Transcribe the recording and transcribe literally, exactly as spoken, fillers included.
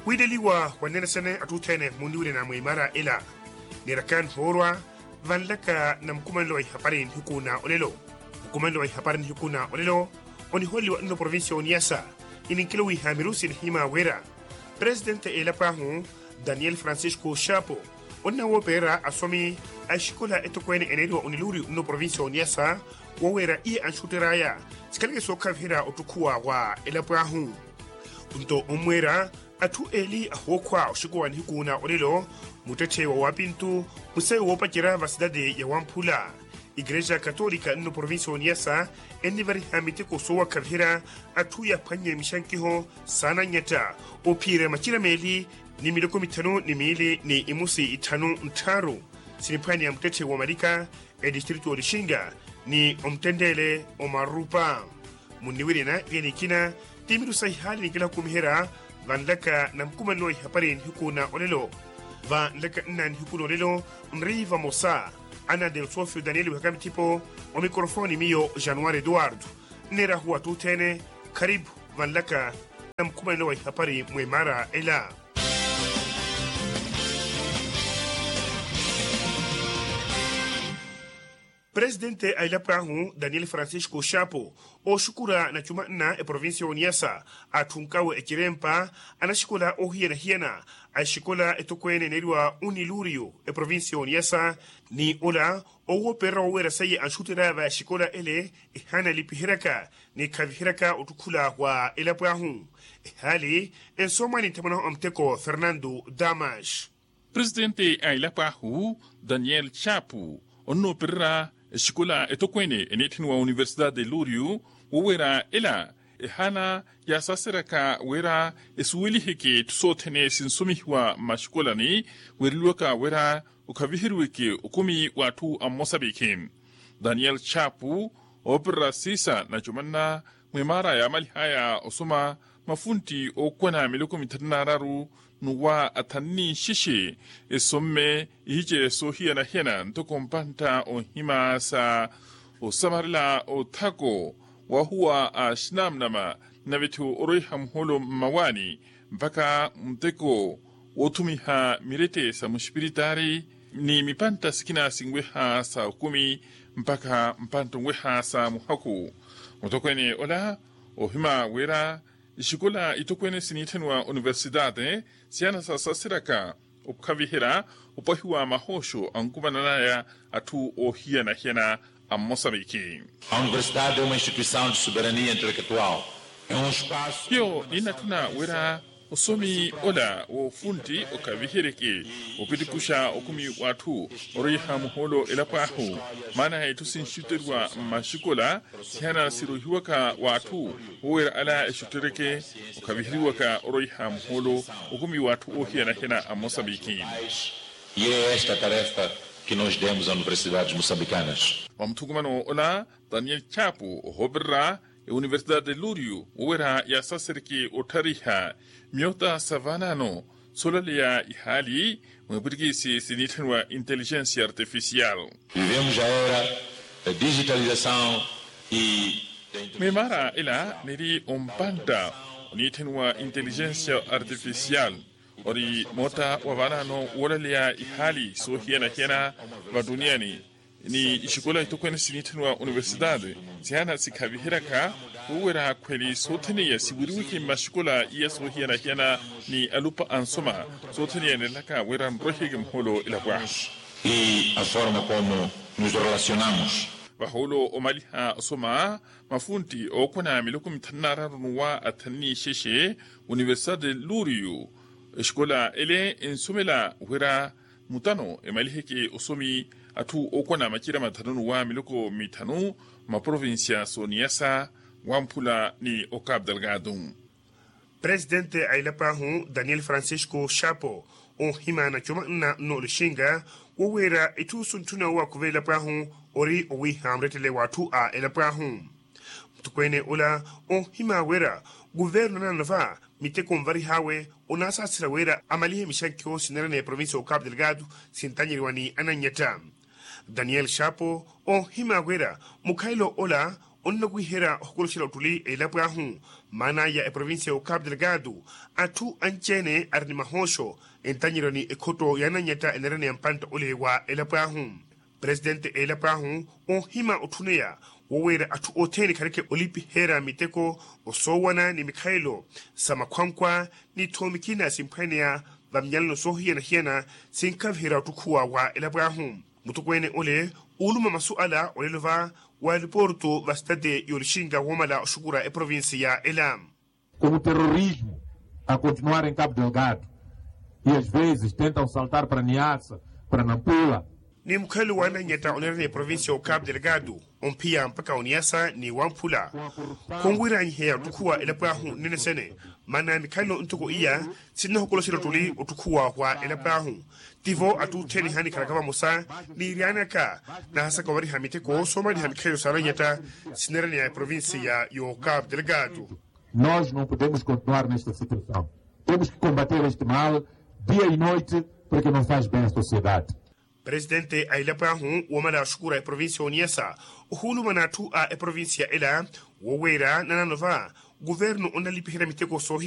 Wiileliwa wanene sene atthu othene munniwirina mwa imaara ela. Niiraka nhoorwa vanlaka na mukumanelo wa ihapari nihiku na olelo. Mukumanelo wa ihapari nihiku na olelo oniholeliwa nno provincia oniyasa. Ininkelo wiiha mirusi nihima wira presidente a elapo ahu daniel francisco shapo onnawopererya asomi a exikola etokweene eneeriwa oniluri nno provincia oniyasa, woweera iye anxutter'aya sikhaleke sookhaviherya ottukhuwa wa elapo ahu. Nto onmweera atthu eeli ahookhwa oxikowa nihiku na olelo, muttetthe wa wapintu musayi woopacerya va sitati ya wamphula. Ikerexa katolika nno provincia oniyasa ennivariha miteko soowakhaviherya atthu yaphwannye mixankiho saananyatta ophiyerya macira meeli ni miloko mithanu ni miili ni imusi itthanu nttharu siniphwanya muttetthe wa malika, etistritu olixinga ni omuttenteele omarupa. Munniwirina ikenikina ti miru sa ihaali nikila khukumiherya vanlaka na mukumanelo wa ihapari nihiku na olelo. Vanlaka nna nihiku na olelo nri vamosa ana delsofio daniel wihaka mithipo, omikrofooni miyo januari eduardo. Nneerahu atthu othene kharipu vanlaka na mukumanelo wa ihapari mwa imaara ela. Presidente a elapo ahu daniel francisco shapo ooxukura na cuma nna eprovincia oniyasa atthunkawe ecirempa anaxikola oohiyana-hiyana a exikola etokweene eneeriwa uniluriyo eprovincia oniyasa. Ni ola owoopererya woweera seiye anxutter'aya va exikola ele ehaana elipiheryaka ni khaviheryaka ottukhula wa elapo ahu. Ehaali ensoomwani nthamwanahu a muteko fernando damas. Presidente a elapo ahu daniel chapu onnoopererya exikola etokweene eniitthaniwa universidade de luriu woweera ela ehaana yaasaseryaka wira esuweliheke etthu sothene sinsomihiwa mmaxikolani, weereliwaka wira okhaviheriweke okumi w'atthu a mmosapikhi. Daniel chapu oopererya siisa na cumanna mwimaara yaamalihaya osoma mafuntti ookwana miloko mithanu n'araru n'uwa athanu n'ixexe esomme ihice soohiyana-hiyana ntoko mpantta onhima sa osamarela othako wahuwa a axinamnama nave-tho oroiha muholo mmawaani mpakha muteko woothumiha mirete sa muxipiritaari ni mipantta sikina sinweha sa okumi mpakha mpantta onweha sa muhaku. Mutokweene ola ohima wira exikola itokweene siniitthaniwa universidade siyana sasaseryaka okhaviherya opwahiwa mahooxo ankumanan'aya atthu oohiyana-hiyana a mmosapikhi. A universidade é uma instituição de soberania intelectual. Hiyo ninnatthuna wira osomi ola woofuntti okhaviheryeke opitikuxa okumi w'atthu oroiha muhoolo elapo ahu. Maana etthu sinxutteriwa mmaxikola sihana sirohiwaka w'atthu woweera ala exuttereke okhaviheriwaka oroiha muhoolo okumi w'atthu oohiyana-hiyana a mmosapikhi. E é esta tarefa que nos demos a universidades moçambicanas. Wa muthukumano ola daniel chapu ohoopererya euniversidade de luriu woweera yaasasereke otthariha myota sa vaanaano soolaleya ihaali mweepwirikisi siniitthaniwa inteligensia artificial. Vivemos a era da digitalização e da mwimaara ela niri ompantta oniitthaniwa inteligensia artificial ori moota wa vaanaano woolaleya ihaali soohiyana-hiyana vattuniani ni ixikola itokweene siniitthaniwa universidade sihana sikhaviheryaka woweera khweli soothene iya siwiriweke mmaxikola iya soohiyana-hiyana ni alupa ansoma soothene iya enelaka wira nroiheke muhoolo elapo ahu. E a forma como nos relacionamos. Vahoolo omaliha osoma mafuntti ookwana miloko mithanu n'araru n'uwa athanu n'ixexe universidade de luriu exikola ele ensomela wira mutano emaliheke osomi atthu ookwana macira mathanu n'uwa miloko mithanu mmaprovincia sooniyasa wamphula ni ocapu delgado. Presidente a elapo ahu daniel francisco chapo oohima na cuma nna nno olixinga woweera itthu suntthuna owakuva elapo ahu ori owiiha murettele w'atthu a elapo ahu. Mutokweene ola oohima wira kuvernu anaanova miteko nvarih'awe onaasaasira wira amalihe mixankiho sineerana eprovincia ocapu delgado sintanyeriwa ni anannyetta. Daniel chapo oohima wira mukhalelo ola onnawiherya ohokoloxela ottuli elapo ahu Maana ya eprovincia ya okapu delgado, atthu anci-ene ari ni mahooxo, entanyeryo ni ekhotto ya anannyetta eneeraniya mpantta ole wa elapo ahu. Presitente a elapo ahu, oohima otthuneya woweera atthu othene khareke olipiheerya miteko, osoowana ni mikhalelo sa makhwankhwa, ni tthoomi khina simphwaneya vamnyalano soohiyana-hiyana, sinkhaviherya ottukhuwa wa elapo ahu. Mutokweene ole, uuluma masu ala olelo va wa eliporto va sitati y'olixinka woomala oxukura eprovincia ela. Como terrorismo a continuar em cabo delgado, e às vezes tentam saltar para niassa, para nampula. Ni mukhalelo wa anannyetta oneeraniya eprovincia ya okapu delgado, omphiya mpakha oniassa ni wamphula, khunwiranyiheya ottukhuwa elapo ahu nnene sene. Maana mikhalelo ntoko iya, sinnahokoloxerya ottuli ottukhuwa wa elapo ahu. Tivo atthu othene ehanikhalaka vamosa, niiryanaka nahasaka ovariha miteko soomaliha mikhalelo sa anannyetta sineeraniya eprovincia ya okapu delgado. Nós não podemos continuar nesta situação. Temos que combater este mal dia e noite, porque não faz bem à sociedade. Presitente a elapo ahu woomala oxukura eprovincia ya oniassa, ohuulumana atthu a eprovincia ela, woweera nanano va kuvernu onnalipiherya miteko soohiya.